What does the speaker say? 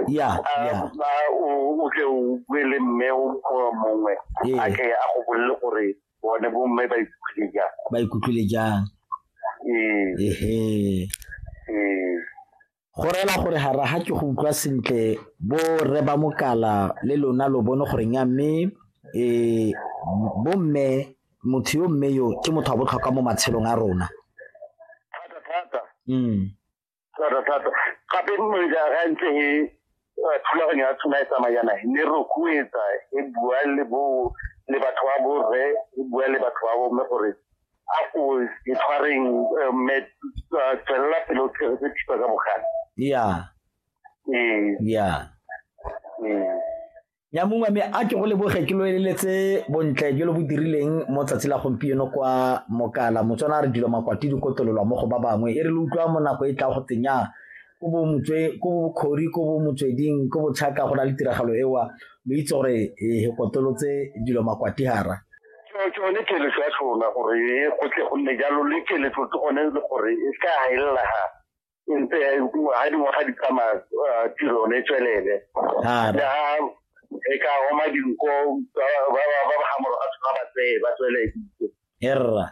Ya, ya. O tle o bue le mme o mongwe a tle a go bolele gore bone bomme ba ikutlwile jang. Ba ikutlwile jang. Ee. Ehe. Ee. Go reela gore ga ra ga ke go utlwa sentle bo rre ba mokala le lona lo bone gore nya mme bomme motho yo mme yo ke motho wa botlhokwa mo matshelong a rona. Thata thata. Thata thata. Gape ga ntse e thulaganyo ya tshwana e tsamaya yana, ne re rotloetsa e bua le bo le batho ba borre, e bua le batho ba bomme gore a ko e tshwareng mme tswelela pele o tshegetse thipa ka bogale. Ee. Ee. Ya mongwe mme a ke go leboge ke lo eleletse bontle jo lo bo dirileng mo tsatsi la gompieno kwa Mokala. Motswana a re dilo makwati di kotololwa mo go ba bangwe. E re le utlwa mo nako e tla go tsenya ko bo motswe, ko bo Khori, ko bo Motsweding, ko bo Tšhaka go na le tiragalo ewa, lo itse gore e kotolotse dilo makwati hara. Tsone keletso ya tshona gore e go tle go nne jalo, le keletso ke gone le gore e se ka helela ha e ntse ha dingwaga di tsamaya, tiro yone e tswelele. Hara. Le ha e ka oma dinko, ba ba ga morago ga tsona ba tseye, ba tswelele. Erra.